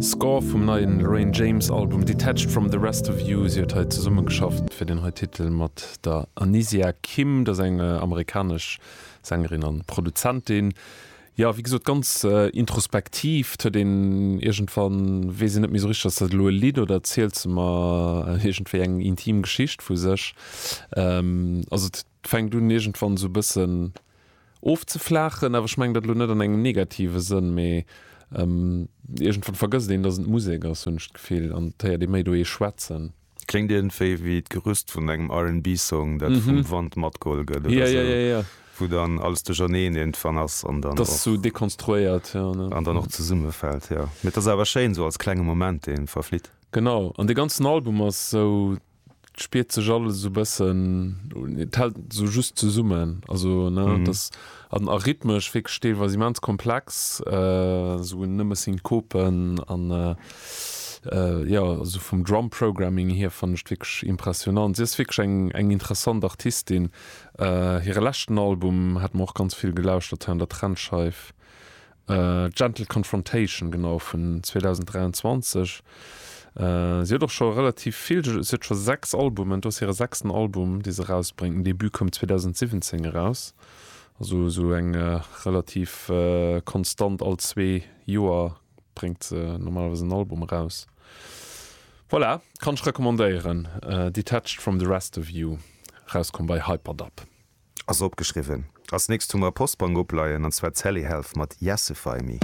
Score vum neien Lorraine James Album Detached From The Rest Of You. Si huet hei zesummegeschafft fir deen hei Titel mat der Anysia Kym, dat ass eng amerikanesch Sängerin an Produzentin. Jo, wéi gesot ganz introspektiv. Et huet een iergendwann, weess een net méi esou richteg, ass dat elo e Lidd oder erzielt se mer iergendwéi eng intim Geschicht vu sech. Also et fänkt un iergendwann esou e bëssen ofzeflaachen, awer ech mengen dat elo net an engem negative Sënn, mee iergendwann vergësst een, dass et Musek ass, hunn ech d'Gefill, an et héiert ee méi do ee schwätzen. Kléngt iergendwéi wéi d'Gerüst vun engem R&B-Song, dat vum Wand matgeholl gëtt oder sou, wou dann alles duercherneen iergendwann ass an dann och. Dass sou dekonstruéiert, jo, ne? An dann och zesummefält, jo. Mee et ass awer schéin, sou als klenge Moment, dee verflitt. Genau, an dee ganzen Album ass sou, et spiert sech alles esou bëssen, et hält esou just zesummen, also, ne, et ass an a rhythmesch wierklech deelweis immens komplex, esou nëmme Synkopen an. Jo, also vum Drum Programming hier fannen ech wierklech impressionant. Si ass wierklech eng eng interessant Artistin. Hire leschten Album hat mer och ganz vill gelauschtert hei an der Trendscheif, Gentle Confrontation, genau, vun 2023. Si huet och scho relativ vill, si huet scho 6 Albumen, do ass hire sechsten Album dee se erausbréngt. Den Debut koum 2017 eraus, also esou eng relativ konstant all zwee Joer Bréngt se normalerweis en Album eraus. Voilà, kann ech recommandéieren. Detached from the rest of you, erauskomm bei Hyperdub. Ass opgeschriwwen. Als nächst hu mer Postbank opleien, an zwar d'Sally Health mat Yesify Me.